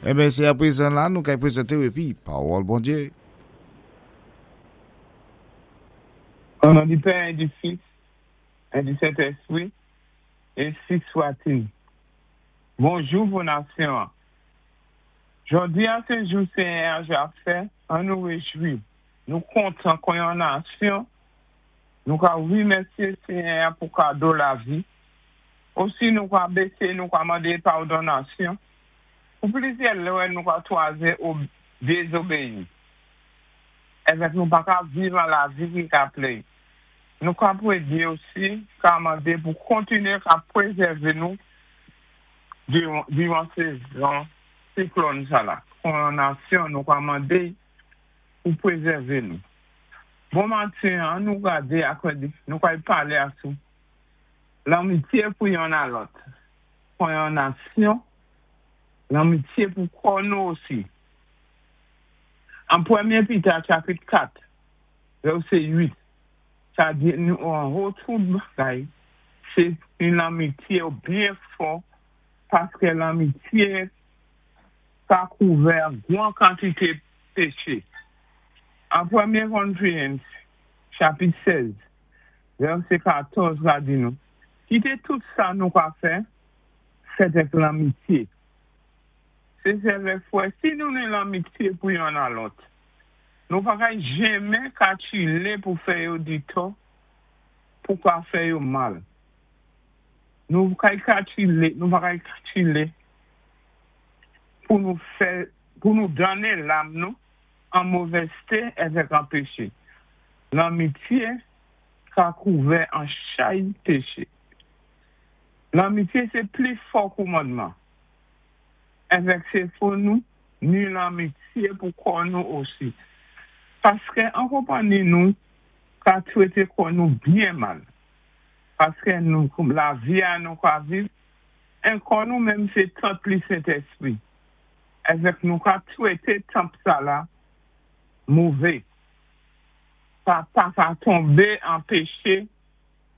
Enben, sé apwézan la nou kay pwézanté-w épi Pawòl Bondyé. Au nom du Père et du Fils et du Saint-Esprit, ainsi soit-il. Bonjou pou nasyon an. Jòdi a sé jou Senyè a ja fè, an nou réjwi, nou kontan kon yon nasyon, nou ka rimèsyé Senyè a pou kado lavi. Osi nou ka bésé, nou ka mandé padon nasyon pou plizyè lè nou ka twaze ou dézobéyi. Èvèk nou pa ka viv an lavi ki ka plè. Nou ka pwédé osi ka mandé pou kontiné ka pwézèvé nou diwan sézon siklòn sa la. Kon yon nasyon nou ka mandé pou pwézèvé nou. Bon matin an nou gadé ak nou kay palé asou lanmityé pou yonn a lòt. Kon yon nasyon, lanmityé pou kò nou osi. An Pwémyé Pita chapit 4 vèsé 8 sa di nou anwo tout bagay sé ni lanmityé byen fò paské lanmityé ka kouvè gwan kantité péché. An Pwémyé Korintiens chapit 16 vèsé 14 la di nou kité tout sa nou ka fè fèt èk lanmityé. Sé sè èvèk fwè si nou ni lanmityé pou yonn a lòt, nou pa kay jenmen ka tchilé pou fè yo ditò, pou ka fè yo mal. Nou kay ka tchilé, nou pa kay tchilé pou nou fè, pou nou donnen lam nou an movèzté èvèk an péché. Lanmityé ka kouvè an chay péché. Lanmityé sé pli fò koumandman. Èvèk sé fò nou ni lanmityé pou kò nou osi. Paskè an konpanni nou ka twété kò nou byen mal. Paskè nou lavi a nou ka viv, en kò nou menm sé tanp li Sentèspri. Èvèk nou ka twété tanp sa la mové. Sa pa ka tonbé an péché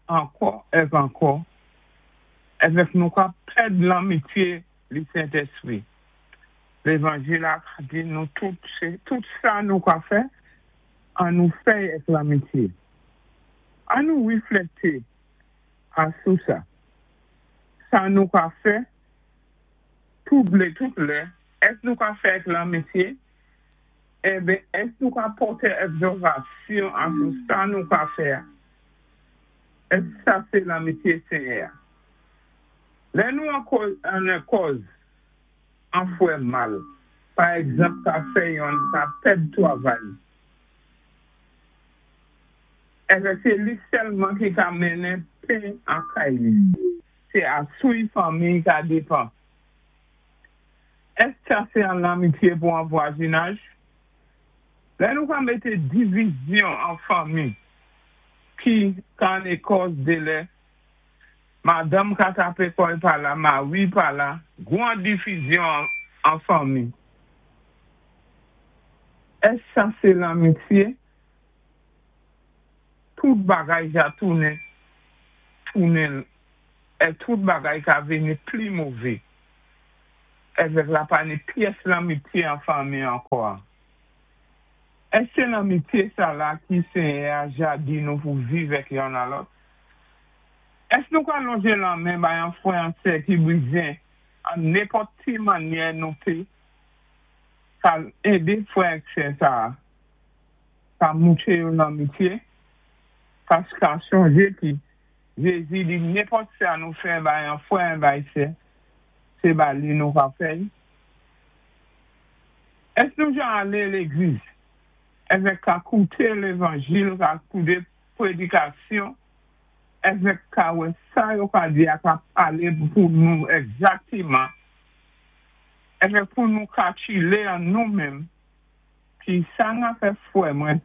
ankò èk ankò. Èvèk nou ka pèd lanmityé li Sentèspri. Lévanjil la ka di nou tout sé tout sa nou ka fè, an nou fè-y èk lanmityé. An nou wiflèkté asou sa. Sa nou ka fè tout lé tout lè, èk nou ka fè èk lanmityé? Enben, èk nou ka pòté èkzòtasyon asou sa nou ka fè a? Èk sa sé lanmityé Senyè a? Lè nou an kòz an fwè mal, pa ègzanp ka fè yonn ka pèd twavay, èvè sé li sèlman ki ka mennen pen an kay li, sé asou'y fanmiy ka dépan. Èsk sa sé an lanmityé pou an vwazinaj? Lè nou ka mété divizyon an fanmi ki ka an ékòz de lè madanm ka tapé kò'y pa la, mari pa la, gwan difizyon an fanmi. Èsk sa sé lanmityé? Tout bagay ja tounen tounen è tout bagay ka vini pli mové. Èvèk la pa ni pyès lanmityé an fanmi ankò a. Èsk sé lanmityé sa la ki Senyè a ja di nou pou viv èk yonn a lòt? Èsk nou ka lonjé lanmen bay an fwè an sè ki bizyen an nenpòt ti mannyè nou pé ka édé fwè èk sè sa a ka moutré yo lanmityé? Pask ka chonjé ki Jézi di nenpòt sa nou fè bay an fwè an bay sè, sé ba li nou ka fè-y. Èsk nou ja alé légliz èvèk ka kouté lévanjil ka koude pwédikasyon èvèk ka wè sa yo ka di a ka palé pou nou ègzakteman èvèk pou nou ka tchilé an nou menm ki sa nan fè fwè mwen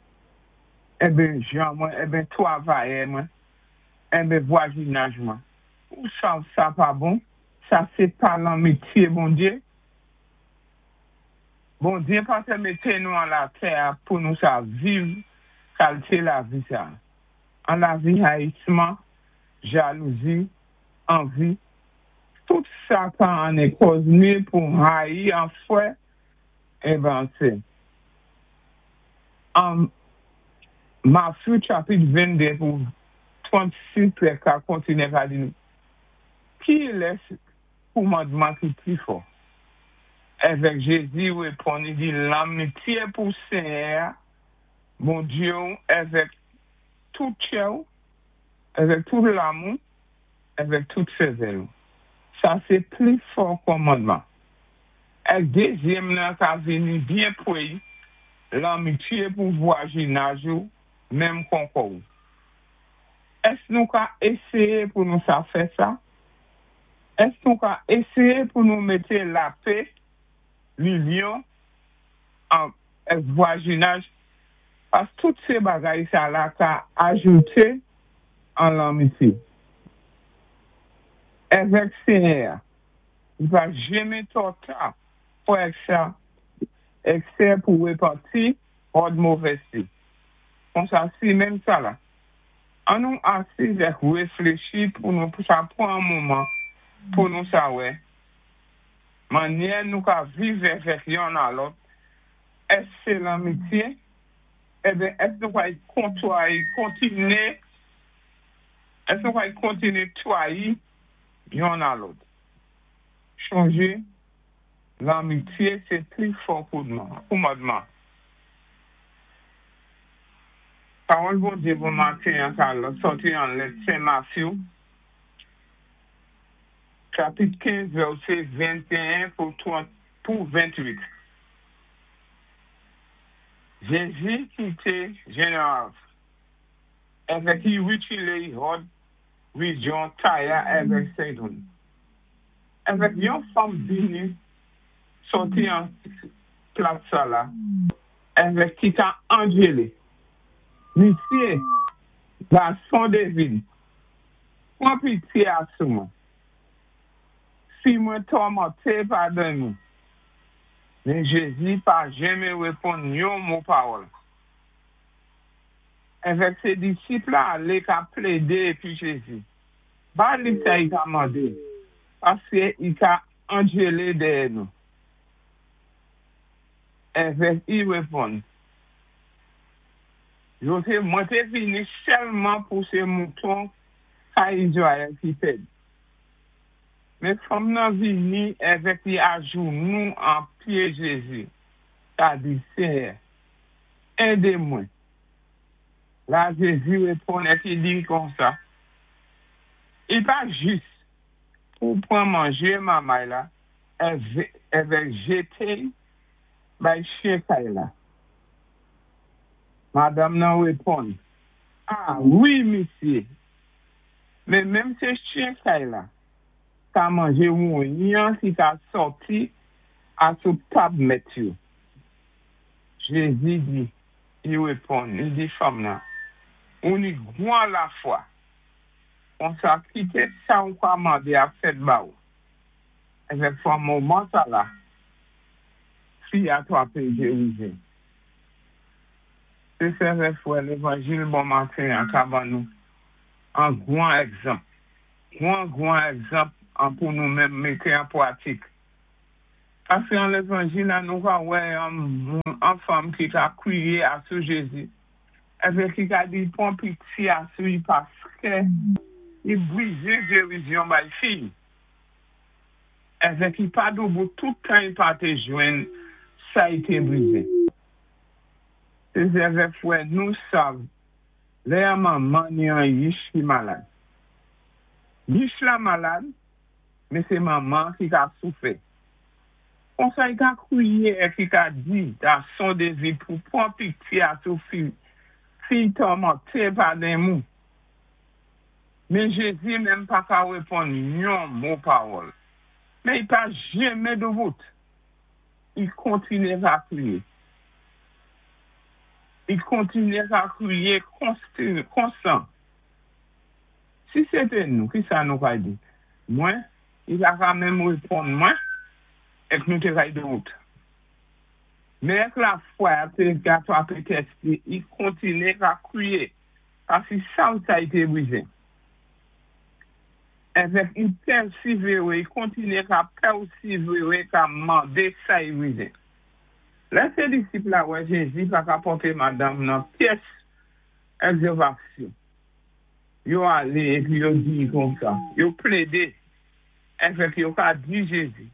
enben jan mwen enben twavayè mwen enben vwazinaj mwen ou sav sa pa bon sa sé pa lanmitye Bondye Bondye pa té mété nou an latè a pou nou sa viv kalté lavi sa an lavi hayisman jalouzi anvi. Tout sa ka anné kòz ni pou hayi an fwè èvè an sè. An Matthew chapit 22 pou 36 lè ka kontiné ka di nou, Kilès kòmandman ki pli fò? Èvèk Jézi wéponn, i di, Lanmityé pou Ségnè-a, Bondyé-ou, èvèk tout tchè-ou, èvèk tout lam ou, èvèk tout sèvèl ou. Sa sé pli fò kòmandman. Èk dézyèm nan ka vini byen pwé i, lanmityé pou vwajinaj ou menm kon kò-ou. Ès nou ka éséyé pou nou sa fè sa? Ès nou ka éséyé pou nou mété lapé, linyon an èk vwajinaj pask tout sé bagay sa la ka ajouté an lanmityé èvèk Ségnè-a? Li pa jenmen twò ta pou èk sa èk sè pou repanti hòd movèzté. Konsa si menm sa la, an nou asiz èk réfléchi pou nou sa pwan an moman pou nou sa wè mannyè nou ka viv èvèk yonn a lòt, èsk sé lanmityé? Èben èsk nou pwal kontiné èsk nou pwal kontiné twayi yonn a lòt? Chonjé, lanmitye sé pli fò koumadman. Pawòl Bondye pou maten an ka sòti an lèt Sen Matthew, chapit 15 vèsé 21 pou 30 pou 28. Jézi kité Jénéraf, èvèk i witile i hòd rijyon Taya èvèk Sédon. Èvèk yon fanm vini sòti an plas sa la, èvèk ki ka anjele, Misyé, gason David, pwan pitye asou mwen. Fi mwen tòmanté pa denmon. Men Jézi pa jenmen wéponn yon mo pawòl. Èvèk sé disip la alé ka plédé épi Jézi ba li sa i ka mandé, paské i ka anjélé dèyè nou. Èvèk i wéponn, Yo té, mwen té vini sèlman pou sé mouton kay Izrayèl ki pèdi. Men fanm nan vini èvèk li ajounou an pyé Jézi, ka di, Ségnè, édé mwen. La Jézi wéponn èk i di konsa, I pa jis pou pwan manjé mamay la èvèk jété-y bay chyen kay la. Madanm nan wéponn, A, wi, misyé, men menm sé chyen kay la ka manjé wonyan ki ka sòti asou tab mèt yo. Jézi di, i wéponn, i di fanm nan, Ou ni gwan lafwa! Konsa kité sa ou ka mandé a fèt ba ou. Èvèk fan moman sa la, fi a twapé gérizé. Sé sè èk fwè, lévanjil bon maten an ka ban nou an gwan ègzanp, gwan gwan ègzanp an pou nou menm mété an pwatik. Paské an lévanjil la nou ka wè an moun, an fanm ki ka kwiyé asou Jézi, èvè ki ka di pwan pitye asou i paskè i bwizin gérizyon bay fi i. Èvè ki pa doubout tout tan i pa té jwenn sa i té bwizin. Sé zèvè fwè nou sav lè an manman ni an yich ki malad. Yich la malad, men sé manman ki ka soufè. Konsa i ka kwiyé èk i ka di gason David pou pwan pitye asou fi, fi tòmanté pa denmou. Men Jézi menm pa ka wéponn yon mo pawòl. Men i pa jenmen doubout. I kontiné ka kwiyé. I kontiné ka kwiyé konstan. Si sé té nou, kisa nou kay di? Mwen, i pa ka menm wéponn mwen, èk nou té kay doubout. Men èk lafwa té ka twapé tès li, i kontiné ka kwiyé. Paski sav sa i té bwizin. Èvèk i pèsivéwé, i kontiné ka pèsivéwé ka mandé sa i bizwen. Lè sé disip la wè Jézi pa ka pòté madanm nan pyès ègzòtasyon, yo alé épi yo di konsa, yo plédé èvèk yo ka di Jézi,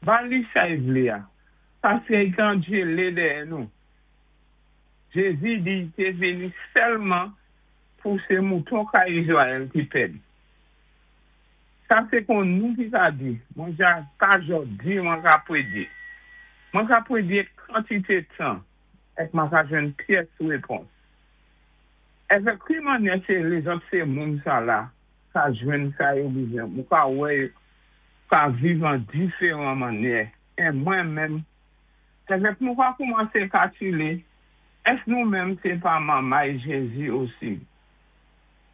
Ba li sa i vlé-a, paské i ka djélé dèyè nou. Jézi di i té vini sèlman pou sé mouton kay Izrayèl ki pèdi. Sa sé kon nou ki ka di, mwen ja pa jòdi mwen ka pwédyé. Mwen ka pwédyé kantité tan èk mwen ka jwenn pyès wépons. Èvèk ki mannyè sé lézòt sé moun sa la ka jwenn sa yo bizwen, mwen ka wè yo ka viv an diféran mannyè é mwen menm èvèk nou ka koumansé kakilé èsk nou menm sé pa manmay Jézi osi.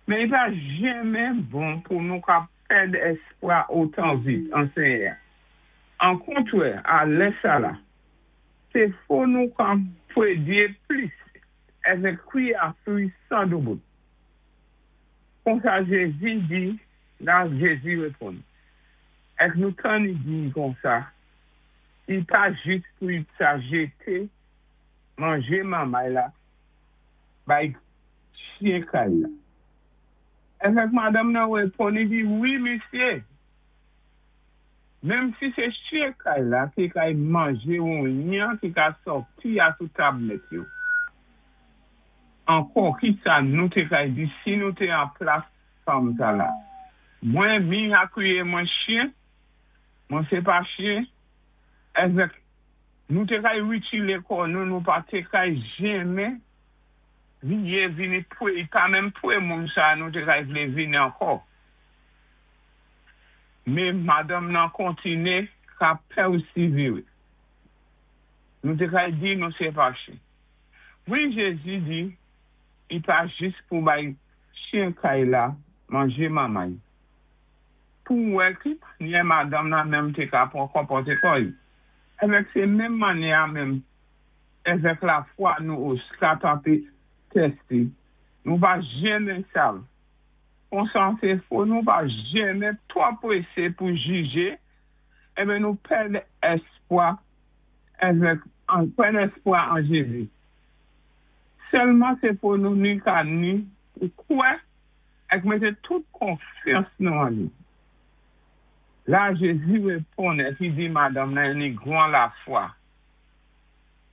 Men i pa jenmen bon pou nou ka pèd èspwa otan vit an Senyè-a. An kontrè, a lè sa la, sé fò nou ka pwédyé plis èvèk kwi asou 100 doubout. Konsa Jézi di, la Jézi wéponn. Èk nou tann i di konsa, i pa jis pou i sa jété manjé manmay la bay chyen kay la. Èvèk madanm nan wéponn, i di, wi misyé, menm si sé chyen kay la ki kay manjé wonyan ki ka sòti asou tab mèt yo. Ankò, ki sa nou té kay di si nou té an plas fanm sa la? Mwen mi akwiyé mwen chyen, mwen sé pa chyen, èvèk nou té kay witilé kò nou, nou pa té kay jenmen viyé vini pwé, pa menm pwé moun sa nou té kay vlé vini ankò. Mé madanm nan kontiné ka pèsivéwé. Nou té kay di nou sé pa chyen. Wi, Jézi di, i pa jis pou bay chyen kay la manjé manmay. Pou wè ki mannyè madanm nan menm té ka pwan konpòté kò i. Èvèk sé menm mannyè-a menm èvèk lafwa nou osi ka tanté tèsté. Nou pa jenmen sav. Konsa sé fò nou pa jenmen twò pwésé pou jijé, enben nou pèd èspwa èvèk pèd èspwa an Jézi. Sèlman sé fò nou ni ka ni pou kwè èk mété tout konfyans nou an li. La Jézi wéponn èk i di madanm nan i ni gwan lafwa.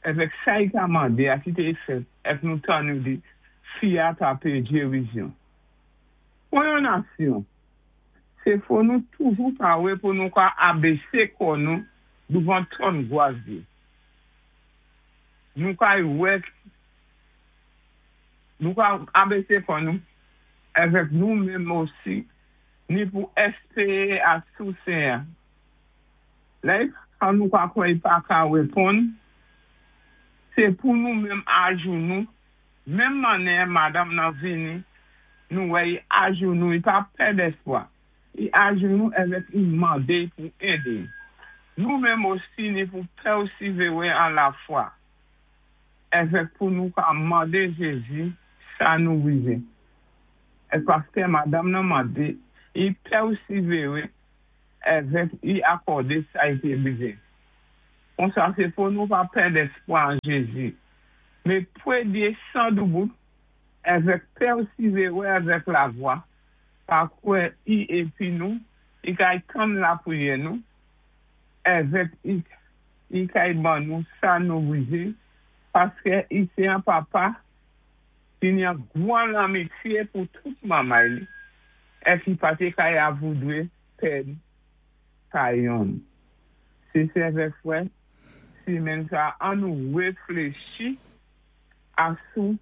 Èvèk sa i ka mandé-a kité i fèt èk nou tann i di fi-a ta pé jérizyon. Pou yon nasyon, sé fò nou toujou pawé pou nou ka abésé kò nou douvan twòn gwas Dye. Nou kay wè nou ka abésé kò nou èvèk nou menm osi ni pou èspéwé asou Senyè. Lè i nou ka kwè i pa ka wéponn, sé pou nou menm ajounou, menm mannyè madanm nan vini, nou wè i ajounou, i pa pèd èspwa. I ajounou èvèk i mandé pou édé. Nou menm osi ni pou pèsivéwé an lafwa. Èvèk pou nou ka mandé Jézi sa nou bizwen. È paské madanm nan mandé, i pèsivéwé èvèk i akòdé sa i té bizwen. Konsa sé pou nou pa pèd èspwa an Jézi, mé pwédyé 100 doubout èvèk pèsivéwé èvèk lafwa, pa kwè i épi nou, i kay tann lapriyè nou, èvèk i, i kay ban nou sa nou bizwen, paské i sé an papa ki ni an gwan lanmityé pou tout manmay li, èk i pa té kay avoudwé pèd pa yonn. Sé sè èvèk frè, simenn sa an nou wéfléchi asou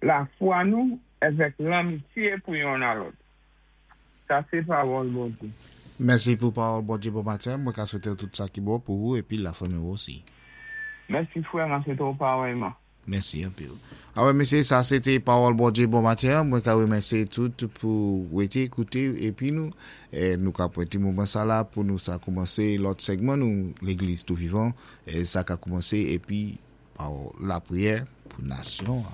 lafwa nou èvèk lanmityé pou yonn a lòt. Sa sé pawòl Bondyé. Mèsi pou pawòl Bondyé bon maten. Mwen ka swété tout sa ki bon pou ou épi lafanmi osi. Mèsi frè, mwen swété ou parèyman. Mèsi anpil. Awè mésyé, sa sé té pawòl Bondyé bon maten. Mwen ka wémèsyé tout pou wété ékouté épi nou nou ka pwénté moman sa la pou nou sa koumansé lòt sègman nou Légliz Tou Vivan sa ka koumansé épi pawòl lapriyè pou nasyon.